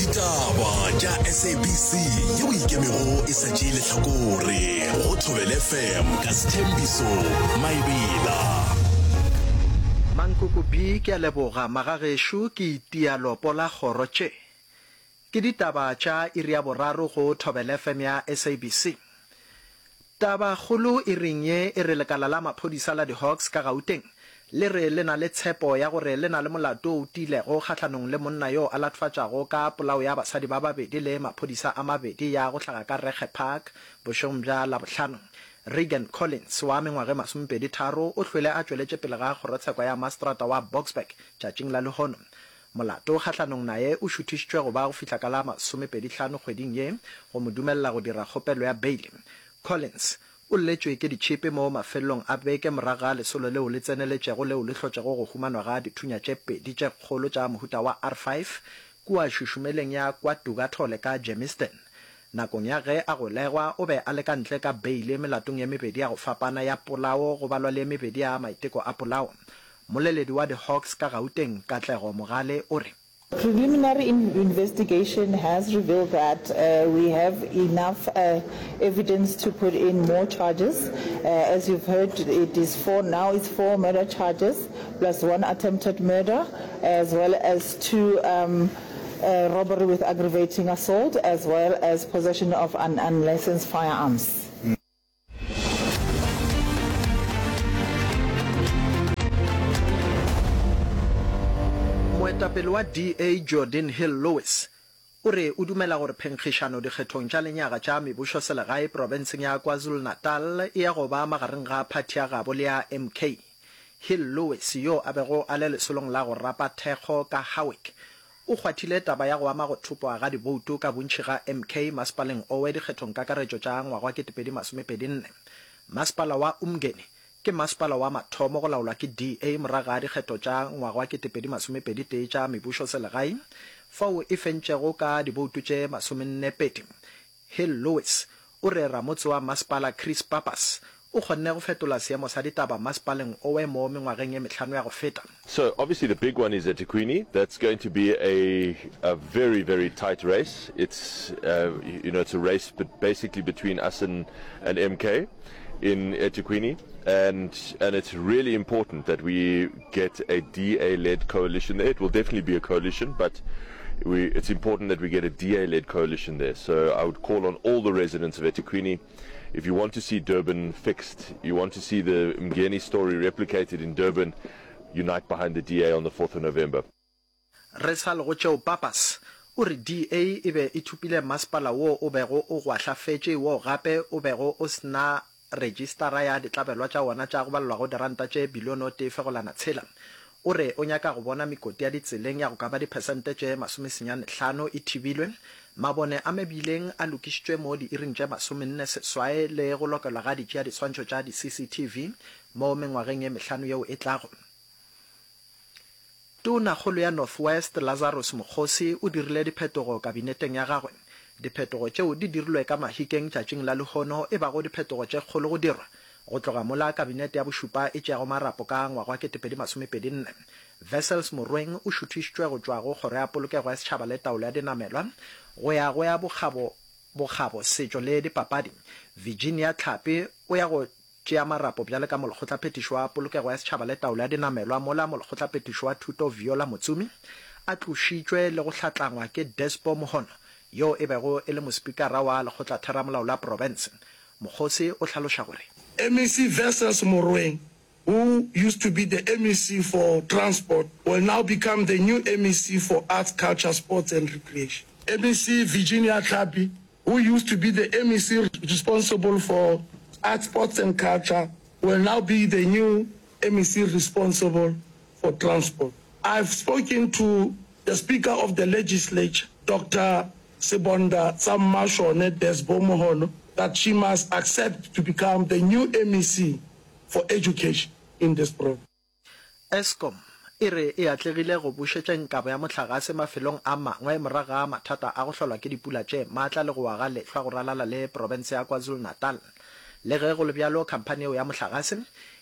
Ditaba tša SABC yeo ikemego e sa tšee lehlakore go Thobela FM ka Sthembiso Maebela. Mankoko B Ke a leboga magagešo ke itia lopo la kgoro tše. Ke ditaba tša iri ya boraro go Thobela FM ya SABC. Taba kgolo iring ye e re lekala la maphodisa la di-Hawks ka Gauteng le re le na le tshepo ya gore le na le molato o tiilego kgahlanong le monna yo a latfatšago ka polao ya basadi ba babedi le maphodisa a mabedi ya go hlaga ka Regge Park bošegong bja Labohlano. Reagan Collins wa mengwaga e masomepedi tharo o hlwele a tšweletše pele ga kgorotsheko ya mastrata wa Boksburg tšatšing la lehono. Molato kgahlanong naye o šuthišitšwe go ba go fihla ka la masomepedi-hlano kgweding ye go mo dumelela go dira kgopelo ya beile. Collins o lletšwe ke ditšhipi mo mafelelong a beke morago ga lesolo leo le tseneletšego leo le hlotšego go humanwa ga dithunya tše pedi tše kgolo tša mohuta wa R5 kua šušumeleng ya KwaDukathole ka Germiston. Nakong ya ge a golegwa, o be a le ka ntle ka beile melatong ye mebedi ya go fapana ya polao go balwa le ye mebedi ya maiteko a polao. Mmoleledi wa di-Hawks ka Gauteng, Katlego Mogale o re. Preliminary investigation has revealed that we have enough evidence to put in more charges. As you've heard, it is four, now it's four murder charges plus one attempted murder as well as two robbery with aggravating assault as well as possession of an unlicensed firearms. Moetapele wa DA Geordin Hill-Lewis o re o dumela gore phenkgišano dikgethong tša lenyaga tša mebušoselegae profenseng ya KwaZulu-Natal e ya go ba magareng ga phathi ya gabo le ya MK. Hill-Lewis yo a bego a le lesolong la go rapa thekgo ka Howick O kgwathile taba ya go ama go thopwa ga diboutu ka bontši ga MK masepaleng owe dikgethongkakaretšo tša ngwaga wa 2024. Masepala wa Umngeni ke masepala wa mathomo go laolwa ke DA morago ga dikgetho tša ngwaga wa 2021 tša mebušoselegae fao e fentšego ka diboutu tše masomennepedi. Hill Lewis o re ramotse wa masepala Chris Pappas o kgonne go fetola seemo sa ditaba masepaleng owe mo mengwageng ye mehlano ya go feta. So obviously the big one is eThekwini, that's going to be a a very very tight race, it's you know it's a race basically between us and and MK in eThekwini and and it's really important that we get a DA led coalition there, it will definitely be a coalition but we it's important that we get a DA led coalition there, so I would call on all the residents of eThekwini if you want to see Durban fixed, you want to see the Mgeni story replicated in Durban, unite behind the DA on the 4th of November. Re sa le go tšeo Pappas o re DA e be e thopile masepala wo o bego o gwahlafetše wo gape o bego o se na rejistara ya ditlabelwa tša wona tša go balelwa go diranta tše bilione o tee fegolana tshela. O re o nyaka go bona mekoti ya ditseleng ya go ka ba diphesente tše masomesenyane hlano e thibilwe, mabone a mebileng a lokišitšwe mo diiring tše masomenne seswai le go lokelwa ga ditšeadiswantšho tša di-CCTV mo mengwageng ye mehlano yeo e tlago. Tonakgolo ya North West, Lazarus Mokgosi o dirile diphetogo kabineteng ya gagwe. Diphetogo tšeo di dirilwe ka Mahikeng tšatšing la lehono e bago diphetogo tše kgolo go dirwa go tloga mola kabinete ya bošupa e tšeago marapo ka ngwaga wa 2024. Wessels Morweng o šuthišitšwe go tšwa go Kgoro ya Polokego ya Setšhaba le Taolo ya Dinamelwa go ya go ya Bokgabo, Bokgabo, Setšo le Dipapadi. Virginia Tlhapi o ya go Tšea marapo bjale ka Molekgotlaphethiši wa Polokego ya Setšhaba le Taolo ya Dinamelwa mola Molekgotlaphethiši wa Thuto Viola Motsumi a tlošitšwe le go hlatlangwa ke Despo Mohono yoo e bego e le Mospikara wa Lekgotlatheramolao la Profense. Mokgosi o hlaloša gore. MEC Wessels Morweng who used to be the MEC for Transport will now become the new MEC for Arts, Culture, Sports and Recreation. MEC Virginia Tlhapi who used to be the MEC responsible for Arts, Sports and Culture, will now be the new MEC responsible for Transport. I've spoken to the Speaker of the Legislature, Doctor Sebonda Tsammashone Desbo Mohono, that she must accept to become the new MEC for Education in this province. Eskom e re e atlegile go bušetšeng kabo ya mohlagase mafelong a mangwe morago ga mathata a go hlolwa ke dipula tše maatla le go wa ga lehlwa go ralala le profense ya KwaZulu-Natal. Le ge go le bjalo, khamphani yeo ya mohlagase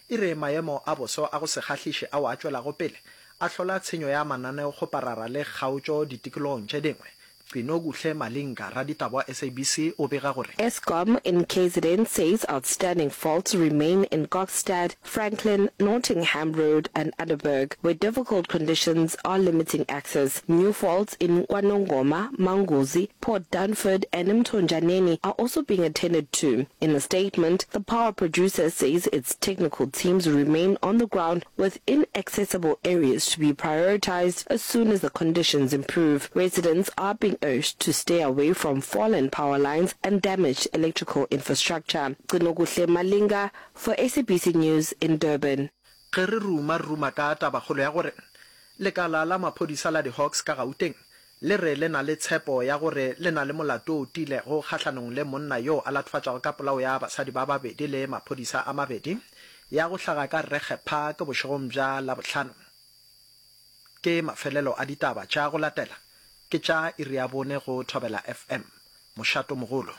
e re maemo a boso a go se kgahliše ao a tšwelago pele a hlola tshenyo ya mananeokgoparara le kgaotšo ditikologong tše dingwe. Gcinokuhle Malinga, raditaba wa SABC o bega gore. Eskom in KZN says outstanding faults remain in Kokstad, Franklin, Nottingham Road and Underberg, where difficult conditions are limiting access. New faults in KwaNongoma, Manguzi, Port Dunford and Mthonjaneni are also being attended to. In a statement, the power producer says its technical teams remain on the ground with inaccessible areas to be prioritized as soon as the conditions improve. Residents are being urged to stay away from fallen power lines and damaged electrical infrastructure. Gcinokuhle Malinga for SABC News in Durban. Ge re ruma, re ruma ka tabakgolo ya gore lekala la maphodisa la di-Hawks ka Gauteng le re le na le tshepo ya gore le na le molato o tiilego kgahlanong le monna yoo a latofatšwago ka polao ya basadi ba babedi le maphodisa a mabedi ya go hlaga ka Regge Park bošegong bja Labohlano. Ke mafelelo a ditaba tša go latela ke tša iri ya bone go Thobela FM, mošatomogolo.